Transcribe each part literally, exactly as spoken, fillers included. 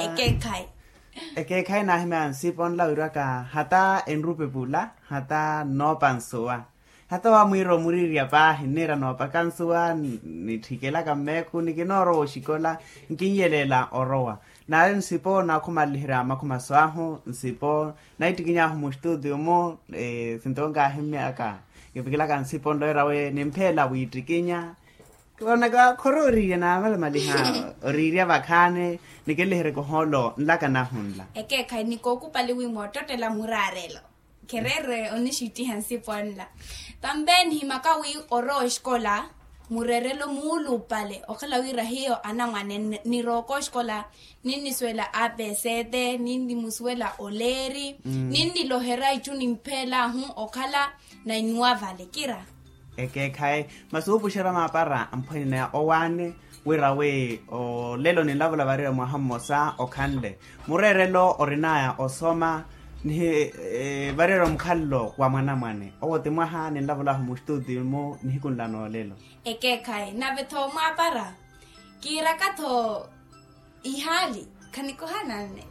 Ekeekhayi. Ekeekhayi naahimya nsipo nla wiraka hata enrupepula hata nnoopa nsuwa. Hata wamwiira omuriirya paahi nniira noopaka nsuwa. Nitthikelaka mmeekhu nikinoorowa oxikola nkinyelela orowa. Naari nsipo naakhumanliherya makhumaso ahu nsipo naittikiny'ahu mustutio-mu. Sintonkahimmyaka kivikilaka nsipo nloira we nimpheela wiittikinya. Onaka khorooriirya naamalamaliha oriirya vakhaani nikinliheryeke ohoolo nlaka nahu nla. Ekeekhayi nikookupali wi moottottela muraarelo khereere onixittiha nsipo nla. Tambe nihimaka wi orowa oxikola mureerelo muulupale okhala wira hiyo anamwane nirooka oxikola ninnisuwela apesete ninnimusuwela oleeri ninniloherya itthu nimpheelahu okhala na inuwa vale kira. Ekeekhayi masi wuupuxerya maapara amphwene owaani wira wi olelo ninlavula varira mwaha mmosa okhanle mureerelo orinaya osoma nihi varira omukhalelo wa mwanamwane owo ti mwaha ninlavulahu mustutio-mu nihiku nla noolelo. Ekeekhayi nave-tho mwaapara kiiraka-tho ihaali khanikohana nne.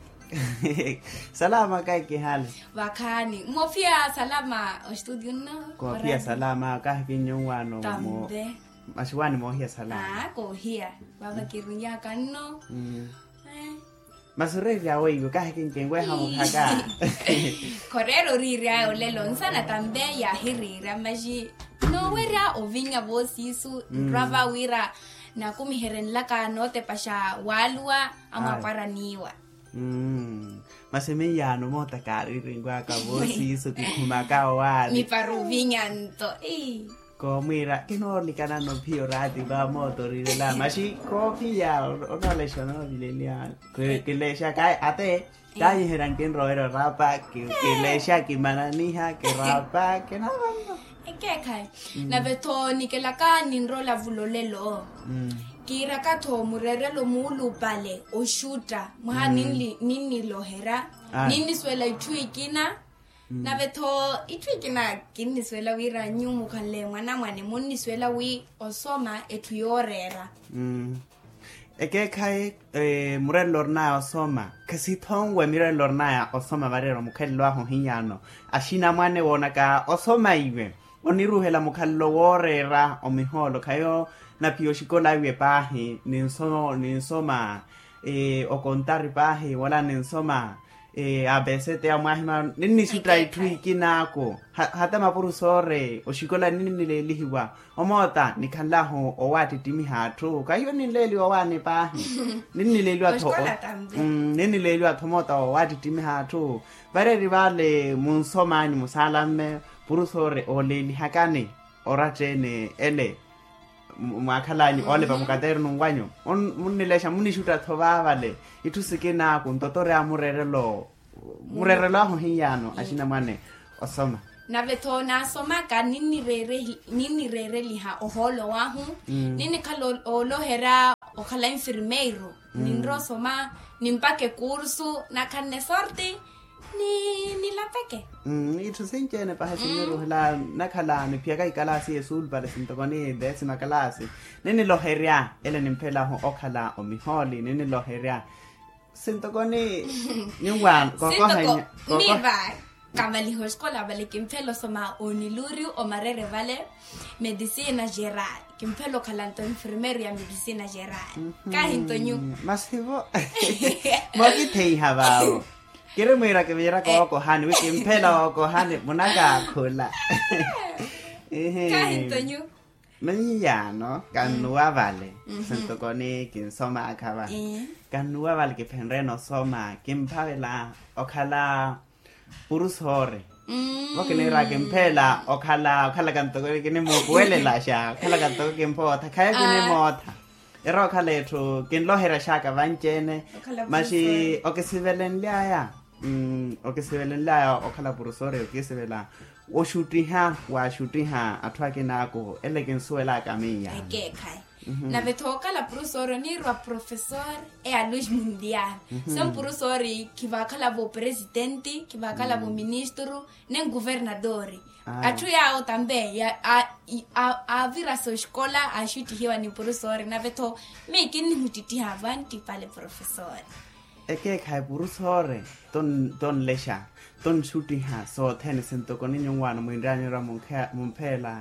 Salama kahi kihaali. Vakhaani moofiya salama ostudio nno? Koofiya salama kahi kinnyu wano. Tambe. Masi waani moohiya salama koohiya vava kirunyaka nno. Masi oreerya weiwo kahi kinkinweha muhaka. Khoreera oriirya olelo nsana tambe yaahiriirya masi noowerya ovinya voosiisu nrwa va wira nakumiherye nlaka nootepaxa waaluwa amwaapwaraniwa. Masi miyaano moota kaariirinwaka voosiisu kikhumaka owaani. Mipara ovinya nto. Koomwiira kinoolikana nophiya oraati va moota oriirela masi koopiya onoolexa onoovileliya. Kilexa kayi ate kaanyiherya nkinrowerya orapa kilexa kimananiha kirapa kinavano. Ekeekhayi nave-tho nikelaka ninrola vulolelo kiiraka-tho mureerelo muulupale oxutta mwaha ninniloherya ninnisuwela itthu ikina. Nave-tho itthu ikina kinnisuwela wira nyuwo mukhanle mwanamwane munnisuwela wi osoma etthu yooreera. Ekeekhayi mureerelo orinaya osoma khesithonwe mireerelo orinaya osoma vareera omukhalelo ahu ohiyaano axinamwane woonaka osoma iwe oniruuhela mukhalelo wooreera omihoolo khayo naphiya oxikola iwe paahi ninsoma okontari paahi wala ninsoma apesete ya mwaahimano ninnixutta itthu ikinaaku. Hata mapurusoori oxikola ninnileelihiwa omoota nikhanlahu owaattittimiha atthu kahiyo ninleeliwa owaani paahi. Ninnileeliwa-tho ninnileeliwa-tho omoota owaattittimiha atthu. Vareeri vale munsomanyu musaalamme purusoori ooleelihakani oratta-ene ele mwaakhalanyu oolepa mukateeroni nwanyu munnilexa munixutta-tho vaavale itthu sikinaaku nto tori amureerelo mureerelo ahu ohiyaano axinamwane osoma. Nave-tho naasomaka ninnireereliha ohoolo wahu ninnikhala ooloherya okhala enfirmeiru ninrowa osoma nimpaka ekursu nakhanne sorti ni nilapeke. Itthu sinci-ene pahi sinniruhela nakhala niphiyaka ikalaasi yesuulupale sintoko ni desima kalaasi ninniloherya ele nimphelahu okhala omihooli ninniloherya sintoko ni nyuwaano kookoha. Miva kavaliha oxikola vale kimphela osoma oniluriu omarere vale medicina geral kimphela okhala nto enfermeiro ya medicina geral. Kahi nto nyu masivo mookitheiha vaavo kiri mwiira kiviira kookohani wi kimphela ookohani munakaakhula. Kahi nto nyu miyaano kannuwa vale sintoko ni kinsomaakha va kannuwa vale kiphenryeene osoma kimphavela okhala purusoori vo kiniira kimpheela okhala okhalaka ntoko kinimuupuwelelaxa okhalaka ntoko kimpootha khaya kinimootha. Ira okhala etthu kinloheryaxaka vanci-ene maxi okisivelenly'aya okisivelenly'aya okhala purusoori okisivela oxuttiha waxuttiha atthu akinaaku ele kinsuwelaka miya. Ekeekhayi nave-tho okhala purusoori oniirwa profesor e a luz mundial. So mpurusoori khivaakhala-vo presitenti khivaakhala-vo ministru nen kuvernadori. Atthu yaawo tambe aavirasa oxikola aaxuttihiwa ni purusoori nave-tho miyo kinnihuttittiha vanttipale profesor. ekeekhayi puru soore tonlexa, tonxuttiha sothene sintoko ninyu nwaano mwinryanyerya mumpheela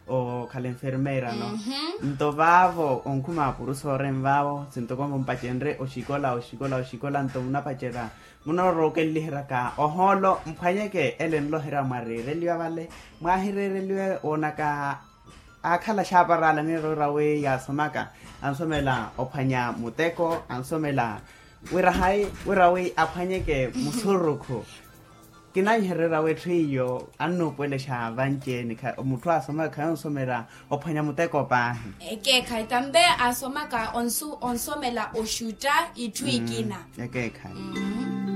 okhala enfermeira no. Nto vaavo onkhuma apuru soore nvaavo sintoko mumpacenrye oxikola oxikola oxikola nto munapacerya munoorookeliheryaka ohoolo mphwanyeke ele nloherya mwareereliwa vale. Mwahireereliwe woonaka aakhala xaaparala nirowira wi yaasomaka ansomela ophwanya muteko ansomela wira hayi wira wi aphwanyeke musurukhu. Kinanhererya wi etthu iyo annuupuwelexa vanci-eni mutthu aasomaka khayi onsomela ophwanya muteko paahi. Ekeekhayi tambe aasomaka onsomela oxutta itthu ikina. Ekeekhayi.